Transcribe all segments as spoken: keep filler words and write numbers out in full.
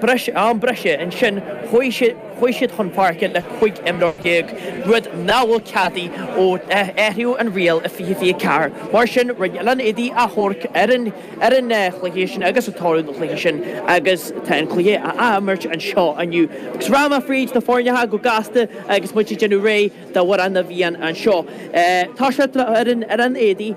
Breis, am breise ansin, chuaigh siad, chuaigh siad chun páirce le cúig imreoir déag, rud nach bhfuil ceadaithe ó athraíodh an riail i fiche fiche ceathair. Mar sin, rinne Oileán Éadaí achomharc ar an, ar an chluiche sin agus an toradh don chluiche sin agus tá an cluiche á athimirt anseo inniu. Agus rachaidh mé fríd na foirneacha go gasta agus muid ag déanamh réidh d'Amhrán na bhFiann anseo. Tá sé ar an Oileán Éadaí,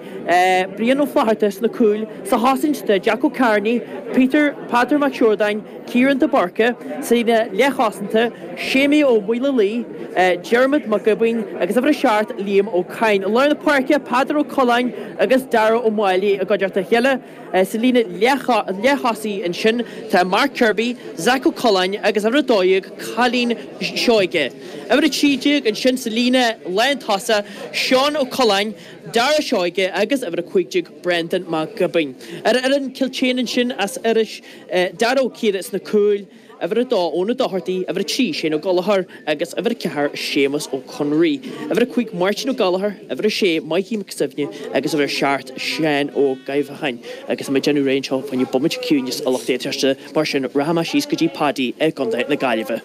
Brian Ó Flatharta sna cúil, sa chosaint tá Jack Ó Cearnaigh, Peter, Peadar Mac Siordáin, Ciarán de Búrca, sa líne leathchosanta, Séimí Ó Maolaodha, Diarmuid Mac Giobúin agus uimhir a seacht, Liam Ó Cadhain. I lár na páirce, Peadar Ó Coileáin agus Dara Ó Máille i gcuideachta a chéile. Sa líne leath-thosaigh ansin tá Mark Kirby, Zach Ó Coileáin agus uimhir a dó dhéag, Cailín Seoige. Uimhir a trí déag ansin sa líne lántosach, Seán Ó Coileáin, Dara Seoige agus uimhir a cúig déag, Brendan Mac Giobúin. Ar fhoireann Cill tSéadhna ansin as Iorrais, Dara Ó Ciardha sna cúil, uimhir a dó, Eoin Ó Dochartaigh, uimhir a trí, Shane Ó Gallchóir agus uimhir a ceathair, Séamus Ó Conraoi. Uimhir a cúig, Máirtín Ó Gallchóir, uimhir a sé, Mikey Mac Suibhne agus uimhir a seacht, Seán Ó Gabhacháin. Agus tá muid ag déanamh réidh anseo fá choinne bomaite ciúinis a lucht éisteachta, mar sin rachaidh mé síos go dtí Paddy i gContae na Gaillimhe.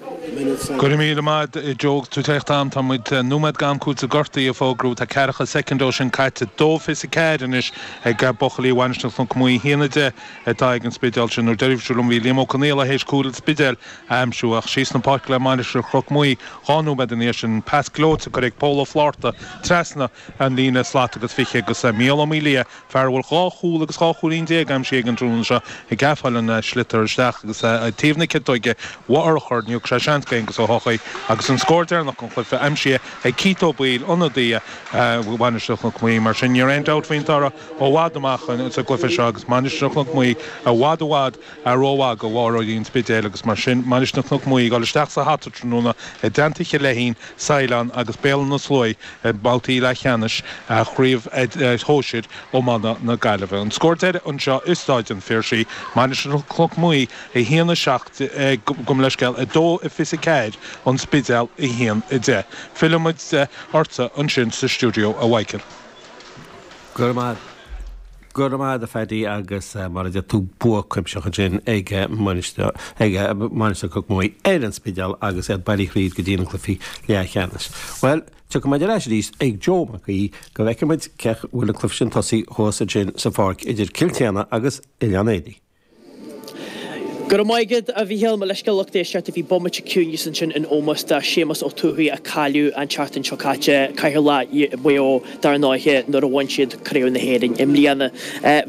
Go raibh míle maith agat Joe agus tú ag teacht am. Tá muid nóiméad d'am cúiteamh gortaithe a fógrú. Tá ceathracha soicind ó sin caite. Dó fiche a ceathair anois ag buachaillí Mhainistir Chnoc Muaidhe. A haon a deich atá ag an Spidéal sin. Nuair deirfear liom bhí Liam Ó Conaola théis cúl an Spidéil a aimsiú ach síos na páirce le Mainistir Chnoc Muaidhe dhá nóiméad ina dhiaidh sin. Pas gleoite curtha ag Pól Ó Flátharta trasna an líne slat agus fiche agus Mícheál Ó Maolaodha, fear a bhfuil dhá chúl agus dhá chúilín déag aimsithe aige an tráthnóna seo, ag geafáil an sliotar isteach agus taobh na ciotóige urchar, ní thug sé seans d'Aonghus Ó hEochaidh agus an scór deireanach den chluiche aimsithe ag Keith Ó Baoill, ionadaí Mhainistir Chnoc Muaidhe. Mar sin ní raibh aon dabht faoin toradh ó bhfad amach sa gcluiche seo agus Mainistir Chnoc Muaidhe i bhfad i bhfad rómhaith do bharróirí an Spidéil agus mar sin Mainistir Chnoc Muaidhe ag dul isteach sa hata tráthnóna i dteannta Chill Leithín, Saighleán agus Béal Átha na Sluaighe i mbabhtaí leathcheannais Chraobh Shóisir Iomána na Gaillimhe. An scór deiridh anseo i Stáid an Phiarsaigh, Mainistir Chnoc Muaidhe a haon a seacht, gabh mo leithscéal, a dó a fiche a ceathair, An Spidéal a haon a deich. Fillfidh muid ortsa ansin sa stiúideo, a Mhichael. Go raibh maith Go raibh maith agat a Phaddy agus mar a deir tú bua cuimsitheach ansin ag Mainistir ag Mainistir Chnoc Muaidhe ar an Spidéal agus iad bailithe thríd go dtí na cluichí leathcheannais. Bhuel, tiocfaidh muid ar ais arís ag Joe Mac Aoidh go bhfeicfidh muid cé bhfuil an cluiche sin tosaithe thuas ansin sa pháirc idir Cill tSéadhna agus Oileán Éadaí. Go raibh maith agat, a Mhícheáil. Mo leithscéal lucht éisteachta, bhí bomaite ciúinis ansin in ómós do Séamus Ó Tuathaigh a cailleadh an tseachtain seo caite, Cathaoirleach Mhaigh Eo dar ndóighe nuair a bhain siad Craobh na hÉireann i mbliana.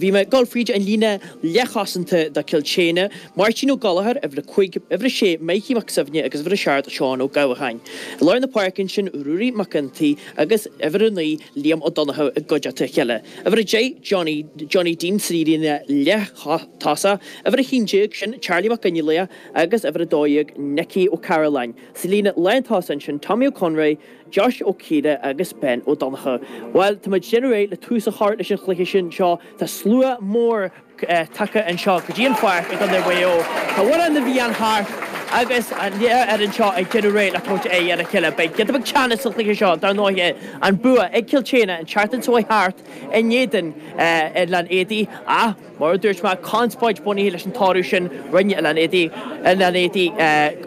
Bhí mé ag dul fríd an líne leathchosanta do Cill tSéadhna, Máirtín Ó Gallchóir, uimhir a cúig, uimhir a sé, Mikey Mac Suibhne agus uimhir a seacht, Seán Ó Gabhacháin. I lár na páirce ansin, Ruairí Mac Iontaigh agus uimhir a naoi, Liam Ó Donnchadha i gcuideachta a chéile. Uimhir a deich, Johnny, Johnny Dean sa líne leath-thosach. Uimhir a haon déag, sin Charlie Mac Fhionnghaile agus uimhir a dó dhéag, Nicky Ó Cairealláin. Sa líne lántosach ansin, Tommy Ó Conraoi, Josh Ó Ciardha agus Ben Ó Donnchadha. Bhuel, tá muid ag déanamh réidh le tús a chur leis an chluiche sin seo. Tá slua mór tagtha anseo go dtí an pháirc i gContae Mhaigh Eo. Tá Amhrán na bhFiann thart agus an fhoireann seo ag déanamh réidh le tabhairt aghaidh ar a chéile. Beidh giota beag teannas sa chluiche seo, dar ndóighe, an bua ag Cill tSéadhna an tseachtain seo chuaigh thart in éadan Oileán Éadaí ach, mar a dúirt mé, conspóid bunaithe leis an toradh sin. Rinne Oileán Éadaí Oileán Éadaí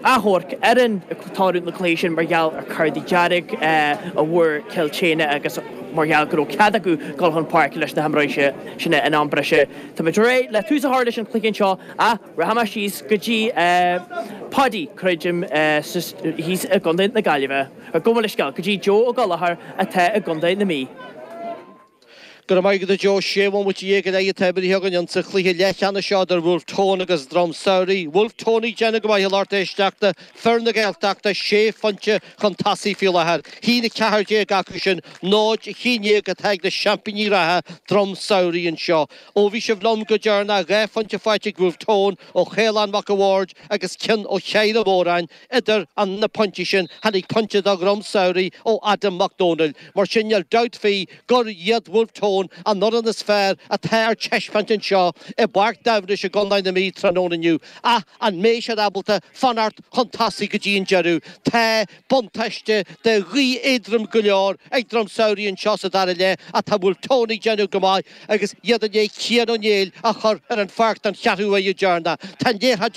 achomharc ar an toradh na cluiche sin mar gheall ar cártaí dearg a bhfuair Cill tSéadhna agus mar gheall go raibh cead acu dul chun páirce leis na himreoirí sin in am breise. Tá muid réidh le tús a chur leis an chluiche anseo ach rachaidh mé síos go dtí Paddy, creidim, thíos i gContae na Gaillimhe. Gabh mo leithscéal, go dtí Joe Ó Gallchóir atá i gContae na Mí. Go raibh maith agat a Joe. Sé bhomaite dhéag go leith atá imeartha againn insa chluiche leathcheannais seo idir Bhulf Tón agus Drom Samhraidh. Bhulf Tón ag déanamh go maith a lucht éisteachta, fir na Gaeltachta sé phointe chun tosaigh faoi láthair. Haon a ceathair déag acu sin, náid a haon déag atá ag na seaimpíní reatha Drom Samhraidh anseo. Ó bhí sibh liom go deireanach, dhá phointe faighte ag Bhulf Tón ó Chaolán Mac a' Bhaird agus ceann ó Shaghair Ó Móráin. Idir an na pointí sin tháinig pointe do Dhrom Samhraidh ó Adam Mac Dónaill. Mar sin níl dabht faoi gur iad Bhulf Tón Tone an fhoireann is fearr atá ar taispeáint anseo i bPáirc Dhamhnais i gContae na Mí tráthnóna inniu. Ach an mbeidh siad ábalta fanacht chun tosaigh go dtí an deireadh? Tá buntáiste de ghaoth éadrom go leor ag Droim Samhraidh anseo sa dara leath ach tá Bhulf Tón ag déanamh go maith agus iad i ndiaidh Cian Ó Néill a chur ar an pháirc don cheathrú uair dheireanach. Tá an liathróid ag